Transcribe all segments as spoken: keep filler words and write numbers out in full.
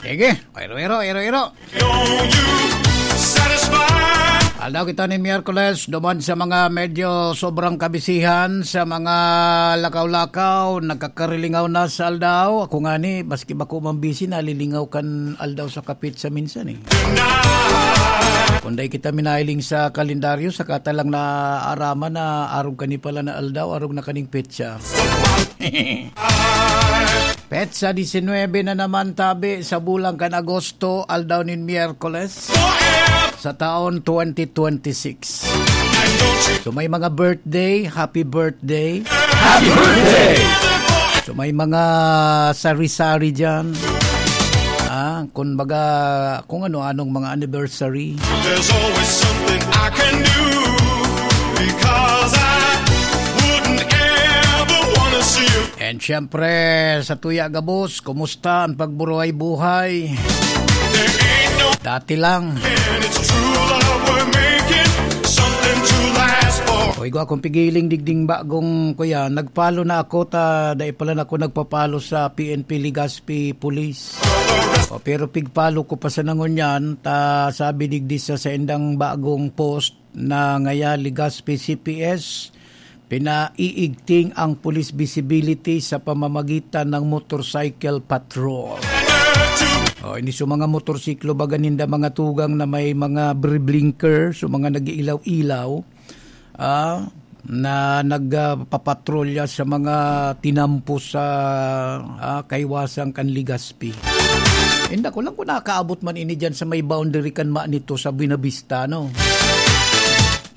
Sige, iro-iro, iro-iro. Aldaw kita ni Miyerkules, duman sa mga medyo sobrang kabisihan, sa mga lakaw-lakaw, nagkakarilingaw na sa aldaw. Ako nga ni, maski bako man busy, nalilingaw kan aldaw sa kapit sa minsan eh. Kung dai kita minahiling sa kalendaryo, saka ta lang naaraman na arog kani pala na aldaw, arog na kaning petsa. Petsa disinwebe na naman tabi sa bulan kan Agosto, aldaw nin Miyerkules sa taon twenty twenty-six. So may mga birthday, happy birthday. Happy birthday! So may mga sari-sari dyan. Ah, kung baga, kung ano-anong mga anniversary. There's always something I can do because I wouldn't ever wanna see you. And syempre, sa tuya gabos, kumusta ang pagburuhay-buhay? There ain't no Dati lang. And it's true love we're making, something to last for. O, igwa kong pigiling digding bagong kuya, nagpalo na ako ta, dai pala na ako nagpapalo sa P N P Legazpi Police. O, pero pigpalo ko pa sa nangunyan, ta sabi digdi sa saindang bagong post na ngaya Legazpi C P S, pinaiigting ang police visibility sa pamamagitan ng motorcycle patrol. O, ini sa mga motorsiklo, baga ninda mga tugang na may mga br-, blinker, so mga nag-iilaw-ilaw, ah, na nagpapatrolya sa mga tinampo sa, ah, kaiwasan kan Legazpi. Inda ko lang kung nakaabot man ini dyan sa may boundary kan Manito sa Buenavista, no?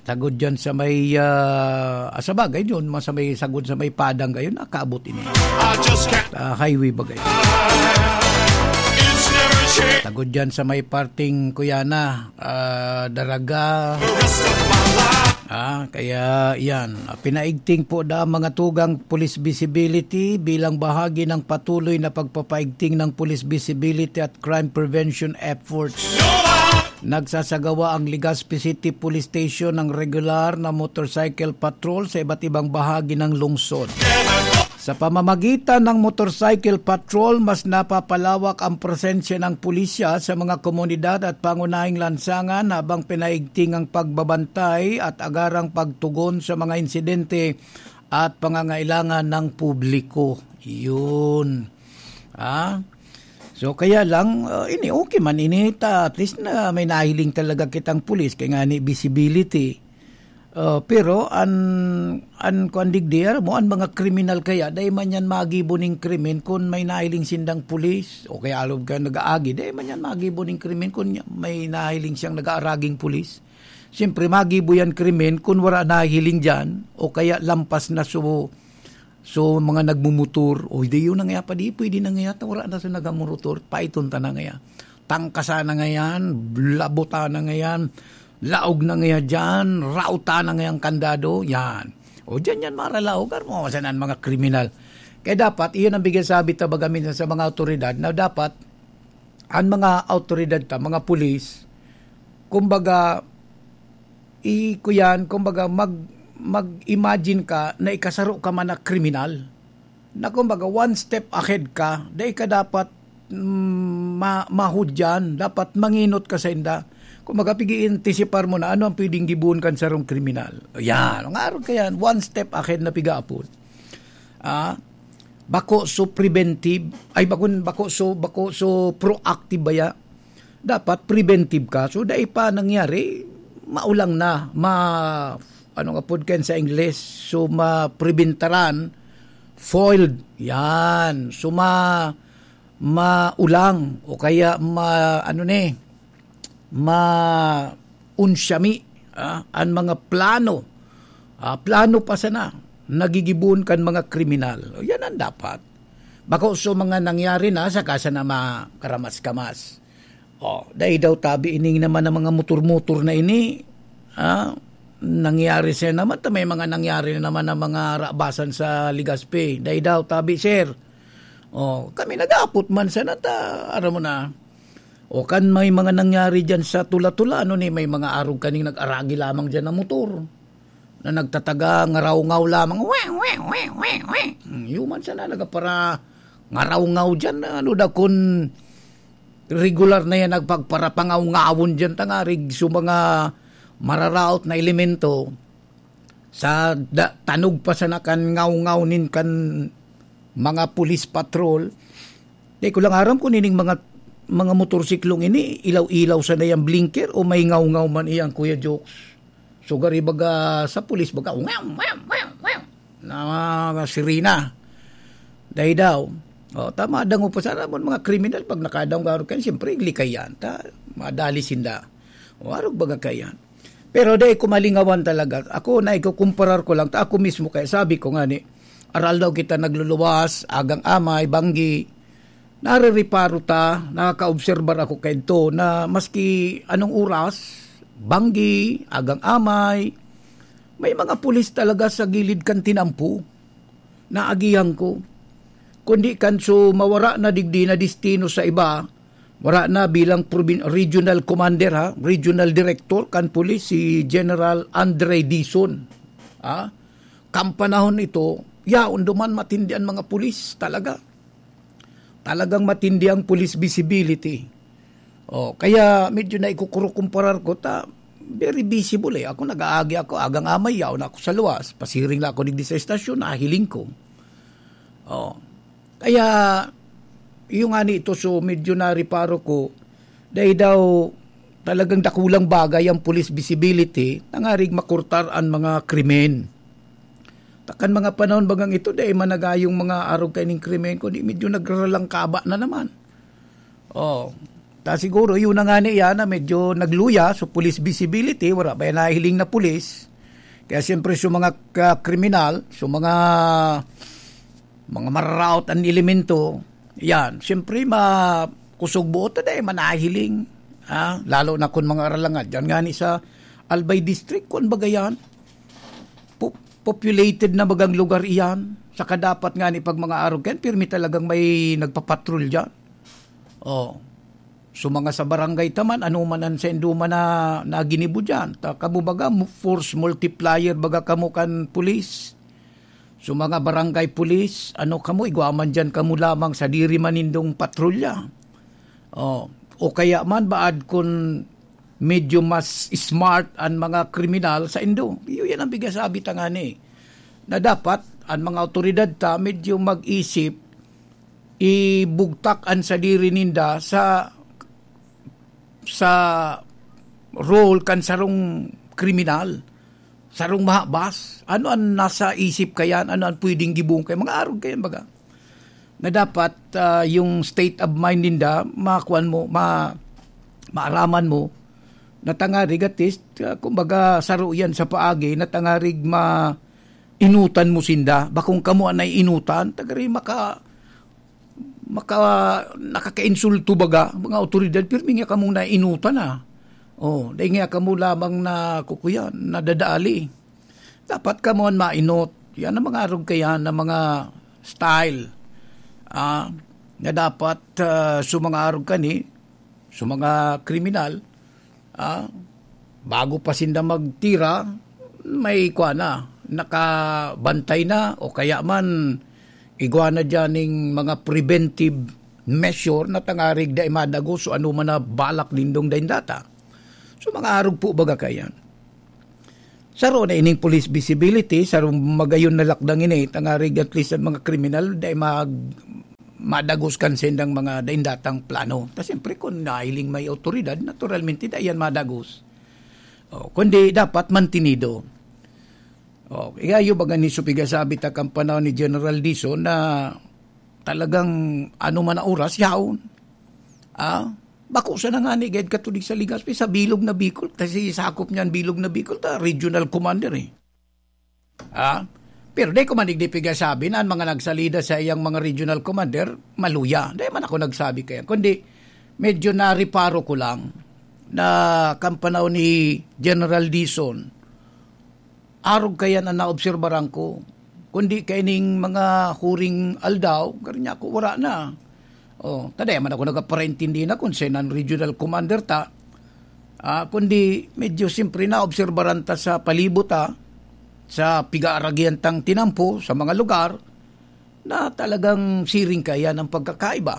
Sagod dyan sa may, ah, ah, sa bagay yun, mga sa may sagod sa may Padang kayo, nakaabot ini. I just can't. Ah, highway bagay. It's never changed. Sagod dyan sa may parting Kuyana, ah, Daraga. The rest of my life. Ah, kaya yan. Ah, pinaigting po da ang mga tugang police visibility bilang bahagi ng patuloy na pagpapaigting ng police visibility at crime prevention efforts. No, I Nagsasagawa ang Legazpi City Police Station ng regular na motorcycle patrol sa iba't ibang bahagi ng lungsod. Sa pamamagitan ng motorcycle patrol, mas napapalawak ang presensya ng pulisya sa mga komunidad at pangunahing lansangan habang pinaigting ang pagbabantay at agarang pagtugon sa mga insidente at pangangailangan ng publiko. Yun. Ah? So, kaya lang, ah, ini okay man ini ta, at least na may nahiling talaga kitang pulis, kaya nga ni visibility. Ah, pero an, an kuan digdi, aram mo, an mga kriminal kaya, dai man yan magibo ning krimen kun may nahiling sindang pulis, o kaya alog ka nag-aagi, dai man yan magibo ning krimen kun may nahiling siyang nag-aaraging pulis. Siyempre, magibo yan krimen kun wala nahiling dyan, o kaya lampas na so So, mga nagmumotor, "Oy, di yun na ngaya pa, di pwede na ngaya, ta wala na sa nagamotor, paiton ta na ngaya. Tangkasa na ngayan, labuta na ngayan, laog na ngaya dyan, rauta na ngayan kandado," yan. O, dyan yan, maralaog, aram mo, saan ang mga kriminal. Kaya dapat, iyon ang bigyan sabi ta baga minsan sa mga awtoridad na dapat, ang mga awtoridad ta, mga pulis, kumbaga, i-, kuyan, kumbaga, mag-, mag-imagine ka na ikasaro ka man na kriminal, na kumbaga, one step ahead ka, dai ka dapat, mm, ma-, mahudyan, dapat mangenot ka sa inda. Kumbaga, pig-iintisipar mo na ano ang pwedeng gibohon kan sarong kriminal. Yan, ang arog ka yan, one step ahead na pigaapod. Ah, bako so preventive, ay, bako, bako so, bako so proactive baya. Dapat preventive ka. So, dai pa nangyari, maulang na, ma-, ano nga pod kan sa Ingles, so, mapreventaran, foiled. Yan. So, ma-, maulang, o kaya ma-, ano ni, maunsyami, ah, an mga plano, ah, plano pa sana, nagigibohon kan mga kriminal. O, yan ang dapat. Bako so mga nangyari na, saka sana makaramas-kamas. O, dai daw tabi ining naman ang mga motor-motor na ini, ah, nangyari siya naman, ta may mga nangyari na naman ang mga rabasan sa Legazpi. Dai daw tabi, sir. O, kami nag-aapot man sana ta, aram mo na. O, kan may mga nangyari dyan sa Tula-Tula, ano ni, may mga arog kaning nag-aragi lamang dyan na motor na nagtataga, ngarawngaw lamang, "Weh, weh, weh, weh, weh." Hmm, yuman sana nagapara ngarawngaw dyan, ano da kun regular na yan nagpagparapangaw-ngawon dyan, tangarig, so mga mararaot na elemento, sa da-, tanog pa sana kan ngaw-ngaw nin kan mga police patrol. Di ko lang aram kung ining mga, mga motorsiklong ini, ilaw-ilaw sana yang blinker o may ngaw-ngaw man iyan, Kuya Jokes. So, gari baga sa pulis, baga, "Wow, wow, wow, wow," na sirena. Dai daw. O, tama, dango pa sana mo mga kriminal, pag nakadaw nga kan, siyempre, likay yan. Ta, madali sinda. O, arog baga kaiyan. Pero dai ko malingawan talaga. Ako, na ikukumparar ko lang, ta ako mismo, kaya sabi ko nga ni, aral daw kita nagluluwas, agang amay, banggi, narireparo ta, nakakaobserbar ako kaidto na maski anong oras, banggi, agang amay, may mga pulis talaga sa gilid kan tinampo. Naagihan ko. Kundi kan so mawara na digdi na destino sa iba, wara na bilang provin-, regional commander, ha, regional director kan pulis, si General Andre Dizon. Ha? Kan panahon ito, yaon duman matindi an mga pulis talaga. Talagang matindi ang police visibility. Oh, kaya medyo naikukurukumparar ko ta, very visible eh. Ako, nag-aagi ako, agang amay, yaon ako sa luwas. Pasiring lang ako digdi sa estasyon, nahiling ko. Oh. Kaya, yung nga nito, so medyo nareparo ko, dahil daw talagang dakulang bagay ang police visibility, nangarig makurtar ang mga krimen. Ta kan mga panahon bagang ito, dai man nagayong mga arog kaining krimen, kundi medyo nagraralangkaba na naman. Oh, ta siguro, yun na nga niya na medyo nagluya, so police visibility, wala ba yan nahiling na pulis? Kaya siyempre, so mga ka-, kriminal, so mga, mga mararaot ang elemento, yan, siyempre, ma-, kusog buot na dahil manahiling. Ha? Lalo na kung mga aralangad. Yan nga ni sa Albay District, kung baga yan, po-, populated na bagang lugar iyan. Saka dapat nga ni pag mga arog yan, pirmi talagang may nagpapatrol dyan. Oh. So, mga sa barangay ta man, ano man ang saindo man na, na ginibo dyan. Ta, kamo baga, mu-, force multiplier baga kamo kan pulis. So, mga barangay pulis, ano kamo, igwa man dyan kamo lamang sa diri man nindong patrolya. Oh. O kaya man, baad kun medyo mas smart an mga kriminal saindo. Iyo yan ang pigasabi ta ngani, na dapat an mga awtoridad ta medyo mag-isip, ibugtak an sadiri ninda sa, sa role kan sarong kriminal, sarong mahabas. Ano an nasa isip kayan? Ano an pwedeng gibohon kay mga arog kayan, baga? Na dapat, ah, yung state of mind ninda, makuan mo, ma-, maaraman mo, na tangarig at least, ah, kumbaga, saro yan sa paagi, na tangarig ma-, inutan mo sinda. Bakong kamo an naiinutan, tagari maka-, maka-, nakakainsulto baga, mga awtoridad, pirmi nga kamong naiinutan, ah. Oh, dahil nga kamo lamang na kukuyan, nadadali. Dapat kamo an mainot. Yan ang mga arog kayan na mga style. Ah, na dapat, ah, so mga arog kani, so mga kriminal, ah, bago pa sinda magtira, may kwa na, nakabantay na, o kaya man, igwa na dyan ning mga preventive measure na tangarig dai madagos o ano man na balak nindong daindata. So, mga arog po baga kayan. Saro na ining police visibility, saro magayon na lakdang ini, tangarig at least ang mga kriminal, dai mag-, madagos kan sendang mga daindatang plano. Ta siyempre, kung nahiling may awtoridad, naturalmente, dai yan madagos. O, kundi dapat mantinido. O, igayo baga ni Supiga sabi ta kan panahon ni General Dizon na talagang ano man na oras, yaon. Ah, bako sana ngani gayud katudig sa Legazpi, sa bilog na Bicol, kasi sakop niyan bilog na Bicol, ta regional commander eh. Ah, pero di ko man digdi pigasabi na ang mga nagsalida sa iyang mga regional commander, maluya. Di man ako nagsabi kaya. Kundi, medyo nareparo ko lang na kan panahon ni General Dizon, arog kayan an naobserbaran ko. Kundi kaining mga huring aldaw, garo niya ako, wala na. Oh, ta dai man ako nagaparaintindi na kung sino an regional commander ta. Ah, kundi medyo siyempre naobserbaran ta sa palibot ta, sa pigaaragihan tang tinampo, sa mga lugar, na talagang siring kayan ang pagkakaiba.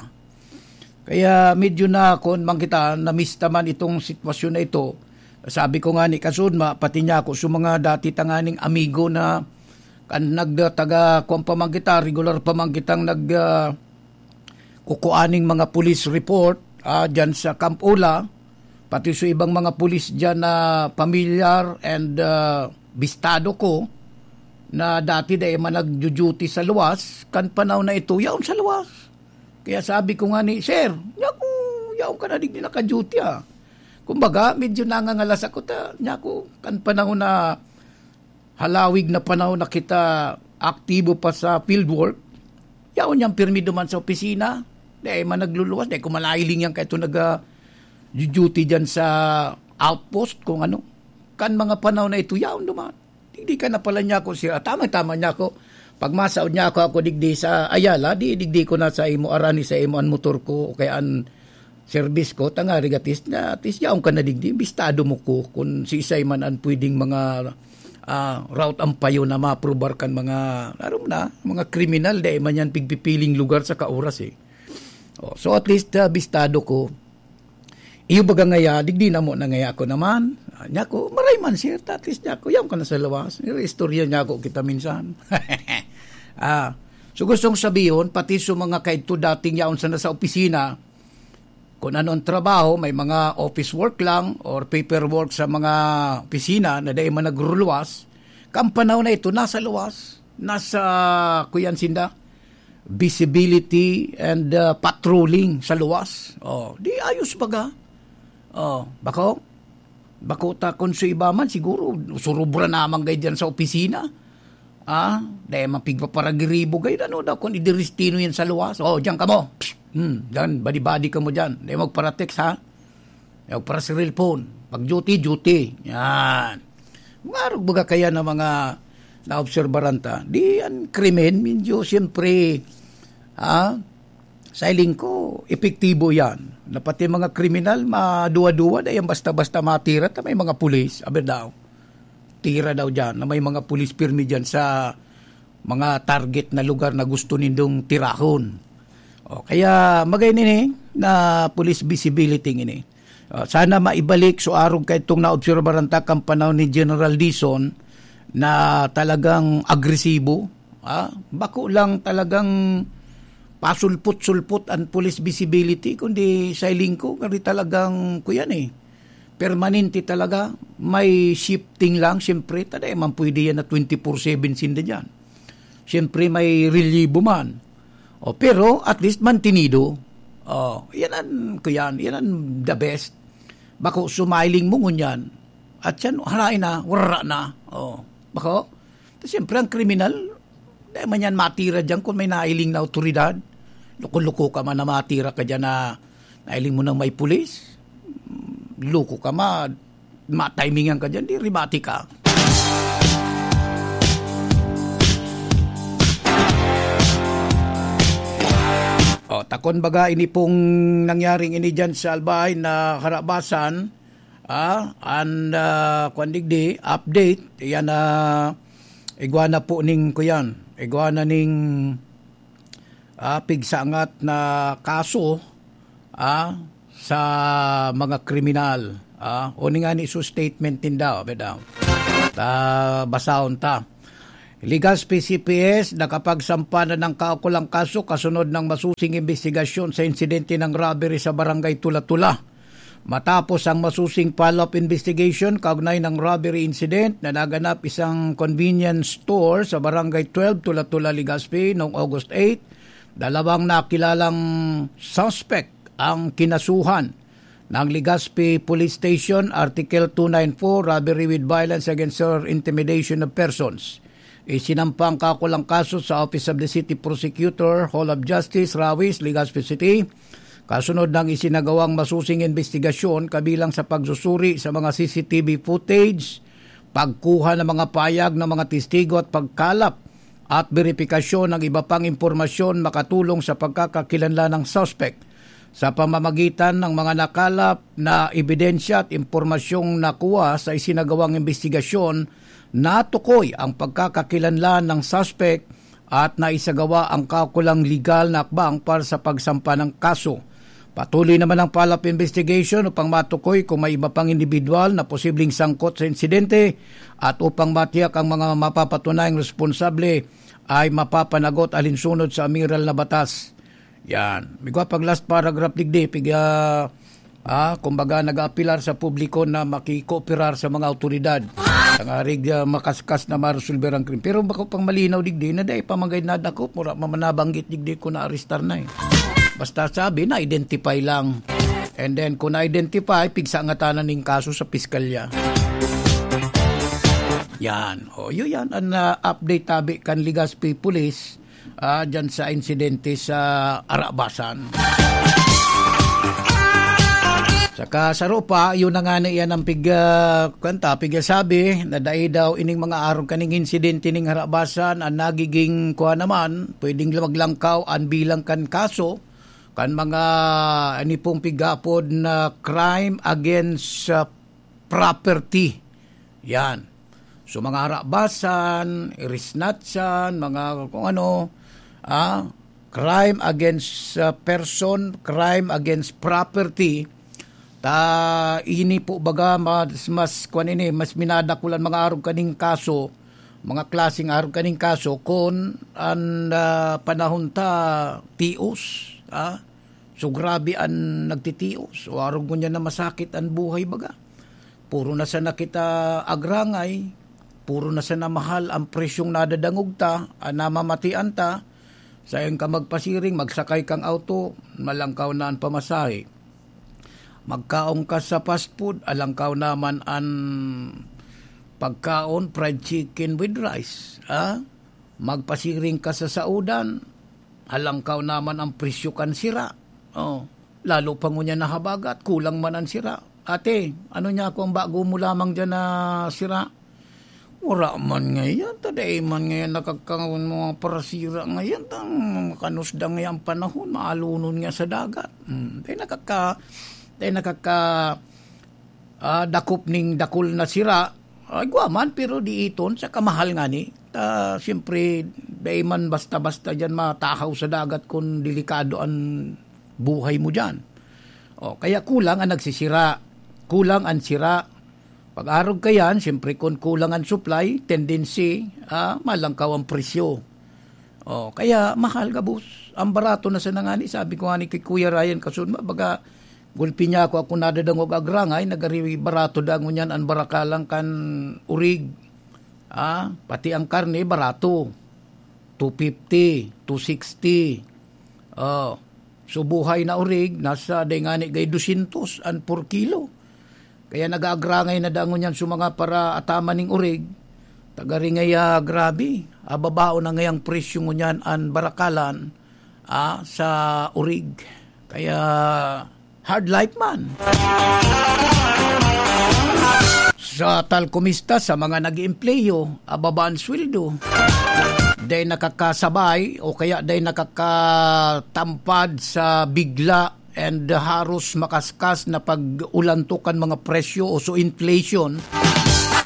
Kaya medyo na, kun man kita, namista man itong sitwasyon na ito. Sabi ko nga ni kasudma, pati niya ako sa mga dati tanganing amigo na kan nagda-, taga, kwan pa man kita, regular pa man kitang nag, ah, kukuaning mga police report, ah, dyan sa Camp Ula, pati sa ibang mga pulis dyan na pamilyar and, ah, bistado ko, na dati dai man nagjo-duty sa luwas, kan panahon na ito, yaon sa luwas. Kaya sabi ko nga ni, "Sir, yaku, yaon ka na digdi naka-duty, ah." Kumbaga, medyo nangangalas ako ta, yaku, kan panahon na halawig na panahon na kita aktibo pa sa field work, yaon niyang pirmi duman sa opisina. Dai man nagluluwas, dai ko malailing yan kahit naga-duty dyan sa outpost, kung ano. Kan mga panahon na ito, yaon duman. Digdi ka na pala niya ako, sir. Ah, tama, tama niya ako. Pag masaod niya ako, ako digdi sa Ayala, di digdi ko na sa imo, arani sa imo an motor ko, o kaya an service ko, tangari gatis na, at least yaon ka na digdi, bistado mo ko kung siisay man an pwedeng mga, ah, route ang payo na maprobar kan mga, aram na, mga kriminal, dai man yan pigpipiling lugar sa kauras eh. Oh, so at least, ah, bistado ko. Iyo baga ngaya, digdi na mo na ngaya ako naman. Ah, niya ko, maray man, sir, at least niya ko, yaon ka na sa lawas. Istorya niya ako kita minsan. Ah, so gustong sabihin, pati sa mga kaidto dating yaon sana sa opisina, kung ano ang trabaho, may mga office work lang or paperwork sa mga opisina na dai man nagruluwas, kan panahon na ito, nasa luwas, nasa, kuyan sinda, visibility and, uh, patrolling sa luwas. Oh, di ayos baga. Oh, bako, bako ta kung sa iba man, siguro, surubra naman kayo dyan sa opisina. Ah, dai man pigpaparagiribo kayo, ano daw, kung idiristino yan sa luwas. Oh, diyan ka mo. Hmm, diyan, badi-badi ka mo diyan. Dai magparatext, ha? Magparaselpon. Pag duty, duty. Yan. Mga arog baga kaya na mga naobserbaran ta. Di ang krimen, medyo siyempre, ah, sa hiling ko, epektibo yan. Na pati mga kriminal, maduwa-duwa, dai yan basta-basta matira, ta may mga pulis, aber daw. Tira daw dyan, na may mga pulis pirmi dyan sa mga target na lugar na gusto nindong tirahon. O, kaya magay nini na police visibility ini. O, sana maibalik so arog kay itong naobserbaran ta kan panahon ni General Dizon na talagang agresibo, ah, bako lang talagang pasulpot-sulpot ang police visibility, kundi sa hiling ko, kari talagang, kuyan eh, permanente talaga. May shifting lang, siyempre, ta dai man pwede yan na twenty-four seven sinda dyan. Siyempre, may relievo man. O, pero at least mantenido. O, yan ang, kuyan, yan ang the best. Bako, sumiling mo ngunyan. At yan, haray na, wara na. O, bako? Ta siyempre, ang kriminal, dai man yan matira dyan kung may nailing na awtoridad. Loko-loko ka man na matira ka dyan na nailing mo nang may pulis. Loko ka man, matimingan ka dyan, di rimati ka. O, takon baga ini pong nangyaring ini dyan sa Albay na Harabasan, ah, and, ah, kwan digdi, update, yan, ah, igwa na po ning, kuyan, igwa na ning, ah, pigsangat na kaso, ah, sa mga kriminal, ah, o ni nga ni so statement ninda, bedaw. Ta, basahon ta. Legazpi C P S nakapagsampa na ng kaukulang kaso kasunod ng masusing imbestigasyon sa insidente ng robbery sa Barangay Tula-Tula. Matapos ang masusing follow-up investigation kaugnay ng robbery incident na naganap isang convenience store sa Barangay twelve, Tula-Tula, Legazpi, noong August eight, dalawang nakilalang suspect ang kinasuhan ng Legazpi Police Station, Article two nine four, robbery with violence against or intimidation of persons. Isinampa ang kakulang kaso sa Office of the City Prosecutor, Hall of Justice, Rawis, Legazpi City, kasunod ng isinagawang masusing investigasyon kabilang sa pagsusuri sa mga C C T V footage, pagkuha ng mga payag ng mga testigo at pagkalap at beripikasyon ng iba pang impormasyon makatulong sa pagkakakilanlan ng suspect. Sa pamamagitan ng mga nakalap na ebidensya at impormasyong nakuha sa isinagawang imbestigasyon, natukoy ang pagkakakilanlan ng suspect at naisagawa ang kaukulang legal na hakbang para sa pagsampa ng kaso. Patuloy naman ang follow-up investigation upang matukoy kung may iba pang indibidwal na posibleng sangkot sa insidente at upang matiyak ang mga mapapatunayang responsable ay mapapanagot alinsunod sa amiral na batas. Yan. Migwa pag last paragraph digdi, piga, ah, kumbaga nag-aapilar sa publiko na makikooperar sa mga awtoridad. Tangarig, ah, makaskas na maresolver ang krimen. Pero bako pang malinaw digdi na dai pa manggay nadakop, mura pa man nabanggit digdi kung naarestar na eh. Basta sabi, na-identify lang. And then, kung na-identify, pigsa nga tanan ning kaso sa piskalya. Yan. O, yun yan. Ang, ah, update tabi kan Legazpi Police, ah, dyan sa insidente sa Arabasan. Saka sa Ropa, yun na nga na iyan ang pig-, ah, kwenta, pigsasabi na dai daw ining mga arog kaning insidente ning Arabasan ang nagiging kuha naman, pwedeng maglangkaw ang bilang kan kaso, kan mga ini pong pigapod na crime against, ah, property. Yan. So, mga harabasan, irisnatsan, mga kung ano, ah, crime against, ah, person, crime against property, ta ini po baga mas, mas, kwan ini, mas minadakulan mga arog kaning kaso, mga klaseng arog kaning kaso, kun an, ah, panahon ta tios, ah, so grabe an nagtitios, o arog ngunyan na masakit an buhay baga. Puro na sana kita agrangay, puro na sana mahal ang presyong nadadangog ta, an namamatian ta, sayon ka magpasiring, magsakay kang auto, malangkaw na an pamasahe. Magkaon ka sa fast food, alangkaw naman an pagkaon, fried chicken with rice, ah? Magpasiring ka sa saodan, alangkaw naman ang presyo kan sira. Oh, lalo pa ngunyan na habagat, kulang man an sira. Ate, ano niya ako ang bago mo lamang dyan na sira? Wala man ngayon, ta dai man ngayon nakaka-, mga parasira ngayon, tang kanusda ngayon ang panahon, maalunon nga sa dagat. Hmm, dai nakaka-, dai nakaka-, ah, dakop ning dakul na sira. Ay, gwa man, pero di iton, sa kamahal ngani. Ta, siyempre, dai man basta-basta dyan matahaw sa dagat kun delikado an buhay mo dyan. O, kaya kulang ang nagsisira, kulang ang sira. Pag-arog ka yan, siyempre kun kulang ang supply, tendency, ah, malangkaw ang presyo. O, kaya mahal gabos. Ang barato na sana ngani, sabi ko ngani kay Kuya Ryan Kasudma, baga, gulpi niya ako, ako nadadangog agrangay, nagari barato da ngunyan ang barakalang kan urig. Ah, pati ang karne, barato. Two fifty, two sixty. Oh, so buhay na urig, nasa, dai ngani gay dosyentos an per kilo. Kaya nag-aagrangay na dangon yan sa mga para ataman ning urig. Tagaringay, ah, grabe. Ababao na ngayang presyo ngunyan an barakalan, ah, sa urig. Kaya hard life man. Sa talkomista, sa mga nag-iempleyo, ababa an sweldo. Dai nakakasabay o kaya dai nakakatampad sa bigla and haros makaskas na pag-ulantok kan mga presyo o so inflation.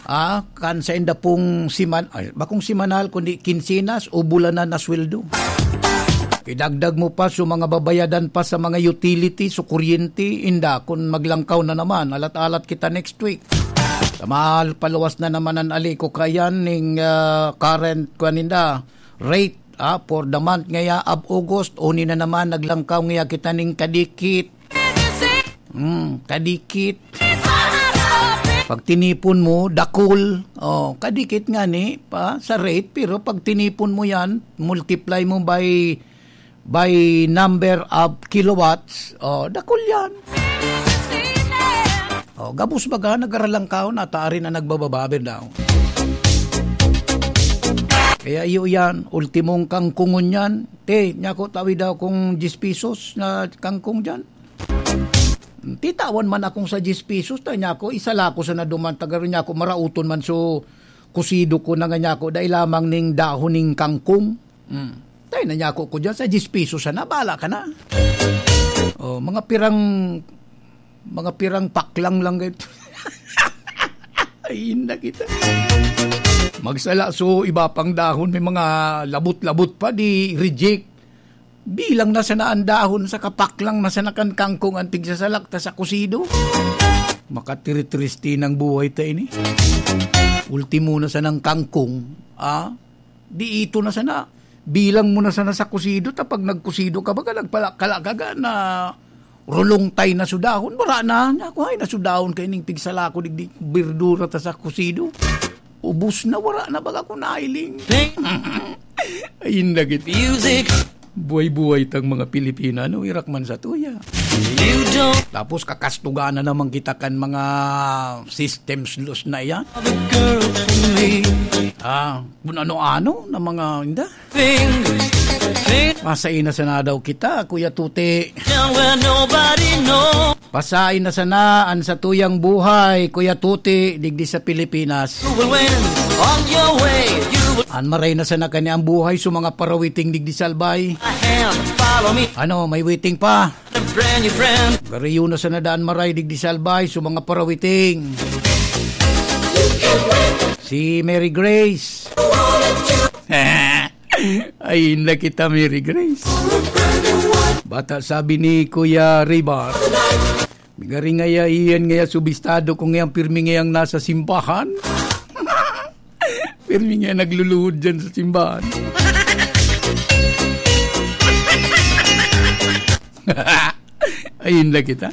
Ah, kan sa inda pong siman-, ay, bakong simanal, kundi kinsenas o bulanan na sweldo. Idagdag mo pa so mga babayadan pa sa mga utility, so kuryente, inda kun maglangkaw na naman, alat-alat kita next week. Sa mahal, paluwas na naman an aliko kayan ning, ah, current, kuwan ninda, rate, ah, for the month ngaya of August, uni na naman, naglangkaw ngaya kita ning kadikit. Hmm, kadikit. Pag tinipon mo, dakul. Oh, kadikit ngani pa sa rate, pero pag tinipon mo yan, multiply mo by, by number of kilowatts, oh, dakul yan. Oh, gabos baga, nagaralangkaw na, ta ari na nagbababa, birdaw. Kaya iyo yan, ultimong kangkungon yan. Te, nyako, tawi daw kung diyes pesos na kangkong dyan. Titawan man akong sa diyes pesos, ta nyako, isa la ako sa naduman, ta garo nyako, marauton man so kusido ko na nga nyako, dai lamang ning dahon ning kangkong. Hmm. Tayo na nyako ko dyan, sa diyes pesos sana, bala ka na. Oh, mga pirang, mga pirang paklang lang gayto. Ay, inda kita. Magsala so iba pang dahon, may mga labot-labot pa, di reject. Bilang na sana an dahon sa kapaklang na sana kan kangkong an pigsasalak ta sa kusido. Makatiritriste nang buhay ta ini. Ultimo na sanang kangkong, ah? Di ito na sana. Bilang mo na sana sa kusido, ta pag nagkusido ka, baga nagpalakala ka ga na rulong tay na sudahon, wala na. Ako ay nasudahon kay ning pigsalako digdi berdura ta sa kusido. Ubos na, wala na baga ko nailing. Ay, inda git. Music. Buhay-buhay tang mga Pilipina, no? Irak man sa tuya. You don't Tapos kakastugan na naman kita kan mga systems loss na yan. Have a girl for me. Ah, kung ano-ano na mga, inda. Thing, thing. Masay na sana daw kita, Kuya Tuti. Down where nobody knows. Pasay na sana an satuyang buhay, Kuya Tuti, digdi sa Pilipinas. You will win on your way. You will An maray na sana kani ang buhay sa mga parawiting digdi sa Albay. A hand, follow me. Ano, may waiting pa? A brand new friend. Gariyo na sana daan maray digdi sa Albay sa mga parawiting. Si Mary Grace. Ay, inda kita, Mary Grace. Bata sabi ni Kuya Ribar, "Garing ngaya iyan ngaya subistado ko ngayang pirmi ngayang nasa simbahan." Pirmi ngaya nagluluhod dyan sa simbahan. Ayun na kita.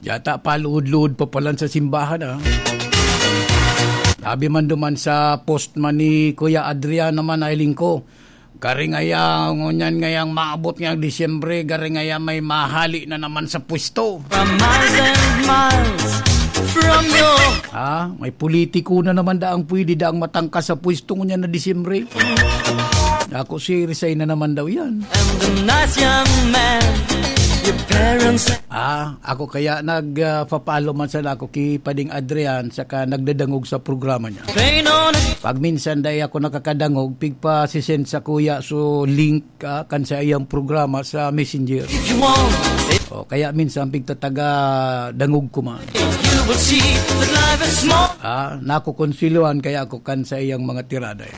Yata paluhod-luhod pa palan sa simbahan, ah. Sabi man duman sa post man ni Kuya Adrian naman, ay lingko. Garing ngaya, ngunyan ngayang maabot ngayang Disyembre, garing ngaya may mahali na naman sa pwesto. From miles and miles from your Ah, may politiko na naman daang pwede daang matangka sa pwesto ngunyan na Disyembre. Ako si resign na naman daw yan. And a nice young man, your parents Ah, ako kaya nag, ah, papalo man sana ako ki Pading Adrian saka nagdadangog sa programa niya. Pain on it. Pag minsan dai ako nakakadangog, pigpasisend sa kuya so link, ah, kan sa iyang programa sa Messenger. If you want it, O, kaya minsan pigtataga dangog ko man. You will see that life is small. Ah, nakukonsiluhan kaya ako kan sa iyang mga tirada, eh.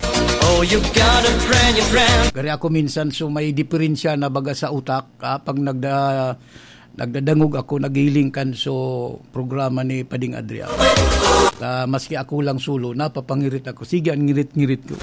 Oh, you got a brand new friend. Gari ako minsan so may diferensya na baga sa utak, ah, pag nagda-, nagdadangog ako, nagiling kan so programa ni Pading Adrian. Ah, maski ako lang solo, napapangirit ako. Sige, ang ngirit-ngirit ko.